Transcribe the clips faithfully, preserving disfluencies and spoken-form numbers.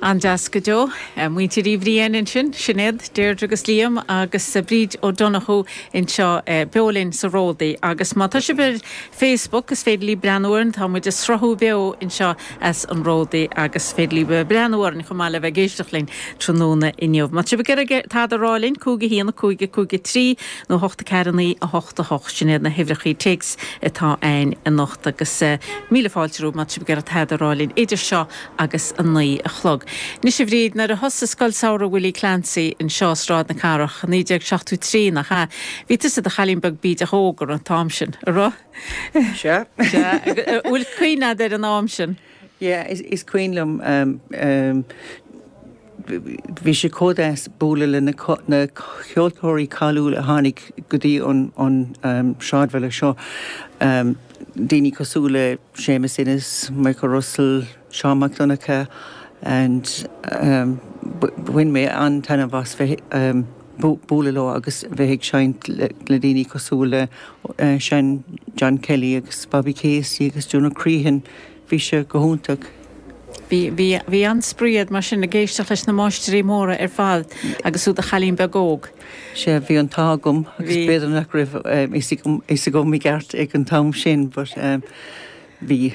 An-deas go deo muintir Uí Bhriain ansin Sinéad Deirdre agus Liam agus Bríd O'Donoghue anseo beo linn sa Ródaí agus má tá sibh ar Facebook is féidir libh breathnú orainn tá muid ag sruthú beo anseo as an Ródaí agus féidir libh breathnú orainn chomh maith le bheith ag éisteacht linn tráthnóna inniu. Má sibh ag tada rá linn cúig a haon cúig cúig trí nó hocht ceathair naoi a hocht a hocht sin iad na huimhreacha téacs atá ann anocht agus míle fáilte má sibh ag tada rá linn idir seo agus a naoi a chlog. Anois a Bhríd nuair a thosaigh Scoil Samhraidh Willie Clancy anseo Sráid na Cathrach naoi déag seachtó trí nach ea. Bhí tusa i do chailín beag bídeach óg an t-am sin an raibh? Sea. Bhfuil cuimhne agat ar an am sin? Yeah, is, is cuimhin liom um, um, bhí sé chomh deas bualadh le na, na ceoltóirí cáiliúla a tháinig go dtí an, an um, sráidbhaile seo. Um, daoine cosúil le Seamus Ennis, Michael Russell, Seán Mac Donncha, and um, bhain mé an-taitneamh as bheith um, bualadh leo agus bheith ag seinnt le, le daoine cosúil le uh, Sean John Kelly agus Bobby Casey agus Jonah Crehan, bhí sé go hiontach. Bhí bhí an-spraoi agat mar sin ag éisteacht leis na máistrí móra ar fad agus tú i do chailín beag óg. Sea bhí an t-ádh agam agus b'fhéidir nach raibh fhios agam i gceart ag an t-am sin, but um, bhí.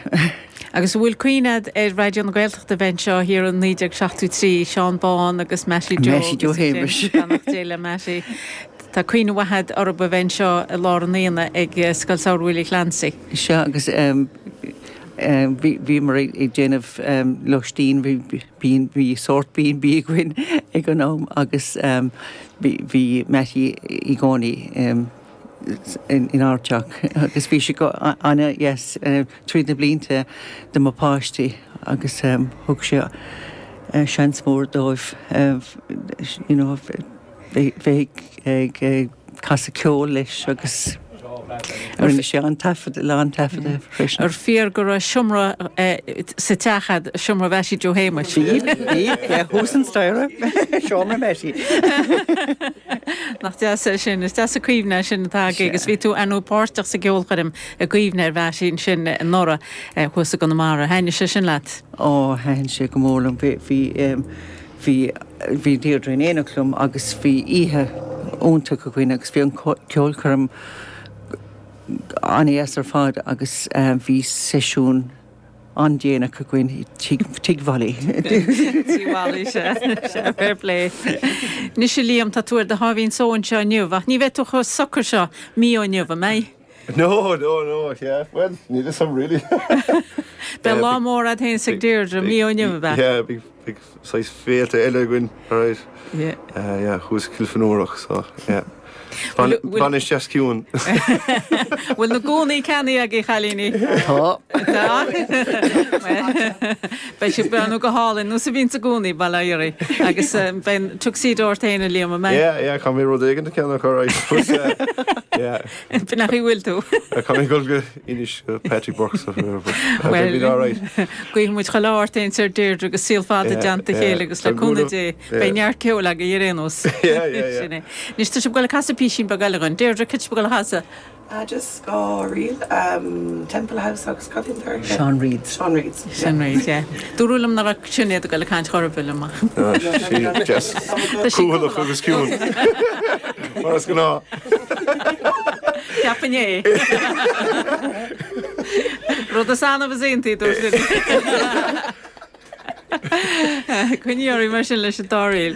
Agus bhfuil cuimhne agat ar Raidió na Gaeltachta bheith anseo thiar in naoi déag seachtó trí Seán Bán agus Mattie Joe Mattie Joe Shéamuis. Dé le Mattie. Tá cuimhne mhaith agat orthu a bheith anseo i lár an aonaigh ag Scoil Samhraidh Willie Clancy. Sea agus um, um, bhí mar ag déanamh um, lóistín bhí bhí sórt B and B againn ag an am agus um, bhí Mattie i gcónaí um, in, in ár dteach agus bhí sé go an-deas uh, tríd na blianta do mo pháistí agus um, thug sé uh, seans mór dóibh uh, you know, bheith ag ag casadh ceol leis agus rinne sé an taifead lán taifead freisin. Ar fíor go raibh seomra sa teach agat seomra Mhattie Joe Shéamuis. Bhí thuas an staighre seomra Mattie. Nach deas é sin is deas an chuimhne sin atá agus bhí tú an páirteach sa gceolchoirm i gcuimhne ar Mhattie sin anuraidh thuas i gConamara. Thaitin sé sin leat? Ó thaitin sé go mór liom bhí bhí bhí Deirdre in éineacht liom agus bhí oíche iontach againn agus bhí an ceolchoirm an-deas ar fad agus bhí seisiún an-déanach againn tigh Mholly. Mholly sea fair play. Anois a Liam tá tú ar do sháimhín só anseo inniu, ach ní bheidh tú chomh socair seo mí ó inniu an mbeidh? No, no, no, yeah. Well, neither some really. Beidh lá mór agat féin is ag Deirdre mí ó inniu be? Yeah, big big saghas féilte eile againn, right? Yeah. Uh, yeah, thuas Kilfenórach, so yeah. Bainis deas ciúin. Bhfuil na gúnaí ceannaithe agaibh a chailíní? Tá. Tá? Beidh sibh ag breathnú go hálainn nó sa bhíonn sa gcónaí bail ó Dhia oraibh agus beidh tuxedo ort féin a Liam an mbeidh? Yeah, yeah, caithfidh mé rud éigin a cheannach alright. Yeah. B'in nach bhfuil tú. Caithfidh mé gul go Inis Patrick Burke so well alright. Guíonn muid chuile ádh ort féin is ar Deirdre agus saol fada i dteannta a chéile agus le cúnamh Dé beidh neart ceoil agaibh ar aon nós. Yeah, yeah, yeah. Anois tá sibh ag goil ag casadh písín beag eile dhúinn. Deirdre cad tá sibh ag goil a chasadh? Uh, just dhá ríl um, Temple House agus cad é Sean Reid. Sean Reid. Sean Reid, yeah. Dúradh liom nach raibh Sinéad ag goil ag caint chor ar bith liom. Jess Cúthalach agus ciúin. Mar is gnáth. Ceapainn é. Rud is annamh is iontaí dúirt Coinníorí mar sin leis an dá ríl.